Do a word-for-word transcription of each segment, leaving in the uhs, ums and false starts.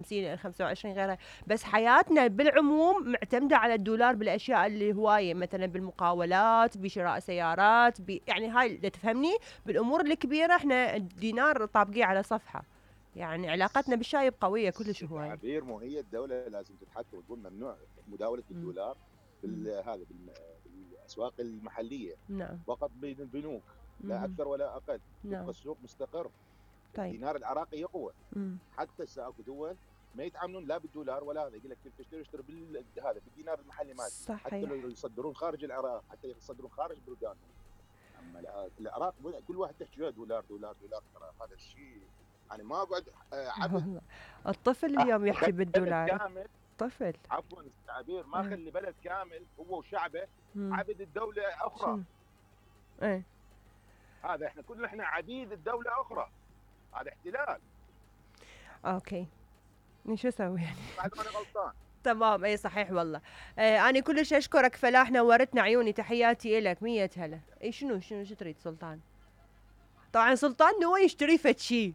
خمسين خمسة وعشرين غيرها، بس حياتنا بالعموم معتمدة على الدولار بالأشياء اللي هواية، مثلا بالمقاولات، بشراء سيارات، ب... يعني هاي إذا تفهمني بالأمور الكبيرة احنا الدينار طابقيه على صفحة. يعني علاقتنا بالشايب قوية كلش هواية. عبير مو هي الدولة لازم تتحكم وتقول ممنوع مداولة الدولار بالهذا بالأسواق المحلية. نعم. فقط بين البنوك لا أكثر ولا أقل. نعم. يبقى السوق مستقر. طيب. الدينار العراقي يقوى. مم. حتى اكو دول ما يتعاملون لا بالدولار ولا هذا، يقول لك تشتري اشتري بالهذا بالدينار المحلي مالك. حتى لو يصدرون خارج العراق، حتى يصدرون خارج بلدانهم. اما العراق كل واحد تحكي دولار دولار دولار، ترى هذا الشيء يعني ما اقعد عبد. الطفل اليوم يحكي بالدولار. طفل. عفوا التعبير، ما خلي بلد كامل هو وشعبه عبد الدوله اخرى. ايه هذا احنا كلنا احنا عبيد الدوله اخرى، هذا احتلال. اوكي شو اسوي يعني؟ بعد ما انا غلطان. تمام اي صحيح والله. آه انا كلش اشكرك فلاح، نورتنا عيوني، تحياتي لك. مية هلا. اي شنو شنو شو تريد سلطان؟ طبعا سلطان نوى يشتري فد شي.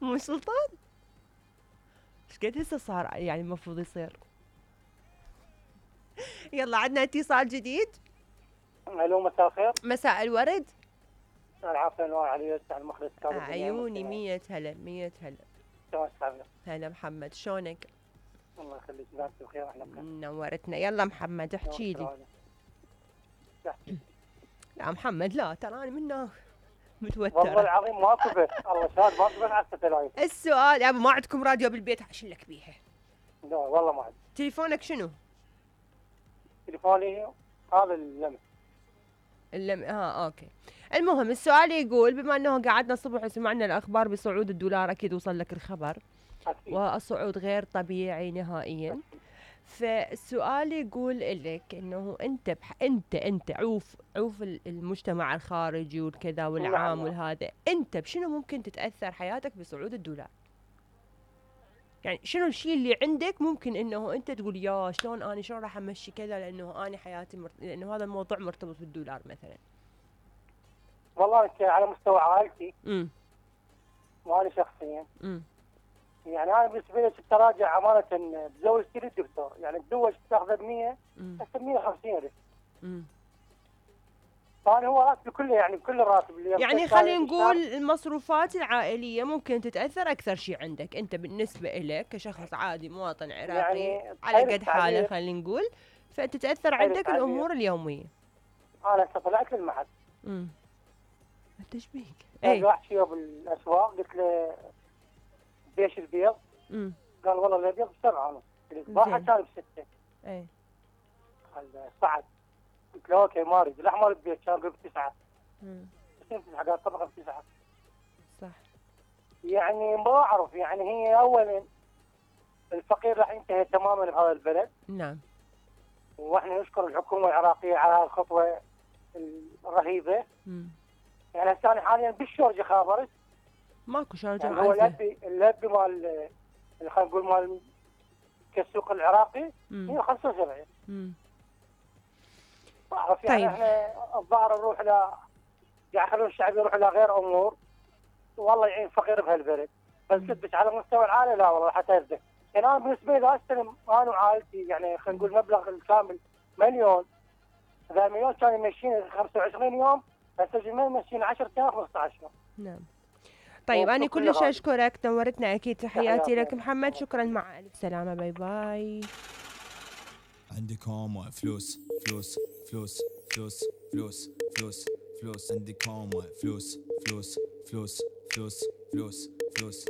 مو سلطان ايش قد هسه صار يعني المفروض يصير. يلا عندنا اتصال جديد. الو مساء الخير. مساء الورد. العافية انوار علي على المخرج. عيوني مية هلا مية هلا. شلونك حبيبي؟ هلا محمد شلونك؟ الله يخليك ناس بخير احنا بخير. نورتنا. يلا محمد احكي لي. لا محمد لا ترى انا منه متوتر والله العظيم ماكو بس الله شاهد ماكو بس على الستلايف. السؤال يا ابو ما عندكم راديو بالبيت عشان لك بيها؟ لا والله ما عندي. تليفونك شنو؟ تليفوني هذا اللمس. اللم اه اوكي. المهم السؤال يقول بما انه قعدنا الصبح وسمعنا الاخبار بصعود الدولار، اكيد وصل لك الخبر. أكيد. والصعود غير طبيعي نهائيا. فالسؤال يقول لك انه انت بح... انت انت عوف عوف المجتمع الخارجي والكذا والعام والهذا، انت بشنو ممكن تتاثر حياتك بصعود الدولار؟ يعني شنو الشيء اللي عندك ممكن انه انت تقول يا شلون انا شلون راح امشي كذا، لانه انا حياتي مر... لانه هذا الموضوع مرتبط بالدولار مثلا. والله على مستوى عائلتي امم وانا شخصيا امم يعني انا بالنسبه لي التراجع امانه بزوجتي للدكتور، يعني تزوج تاخذ مية هسه مية وخمسين الف. امم فانا هو راتبي كله يعني كل الراتب اللي يعني خلينا نقول المصروفات العائليه ممكن تتاثر اكثر شيء عندك انت بالنسبه لك كشخص عادي مواطن عراقي يعني على قد حاله خلينا نقول، فتتاثر عندك الامور اليوميه. انا طلعت للمحل. امم ايش بيك؟ اي واحد شيء بالاسواق قلت له بيش البيض؟ امم قال والله الابيض بسبعه ونص، الصباحه كان بسته. اي قال صعد. قلت له اوكي ما اريد، الاحمر البيت كان بتسعه. امم تسعه قال طبقه بتسعه. صح. يعني ما اعرف يعني هي اولا الفقير راح ينتهي تماما بهذا البلد. نعم. واحنا نشكر الحكومه العراقيه على الخطوه الرهيبه. امم يعني هسه انا حاليا بالشورجه خابرت. ماكو شارجه يعني هو اللبي اللبي مال خلينا نقول مال كالسوق العراقي هي خمسة وسبعين. امم بعرف يعني طيب. احنا الظاهر نروح ل قاعد يخلون الشعب يروح الى غير امور، والله يعين فقير بهالبلد. بس بس على مستوى العائله لا والله حتى يزدك. يعني انا بالنسبه لي استلم انا وعائلتي يعني خلينا نقول مبلغ الكامل مليون. اذا مليون كان يمشيني خمسة وعشرين يوم، هسه جميل يمشيني عشرة آلاف خمسة عشر يوم. نعم. طيب أنا كلش أشكرك، نورتنا أكيد. تحياتي لك محمد، شكرا مع ألف سلامة. باي باي. عندكم فلوس فلوس فلوس فلوس فلوس فلوس فلوس عندكم فلوس فلوس فلوس فلوس فلوس فلوس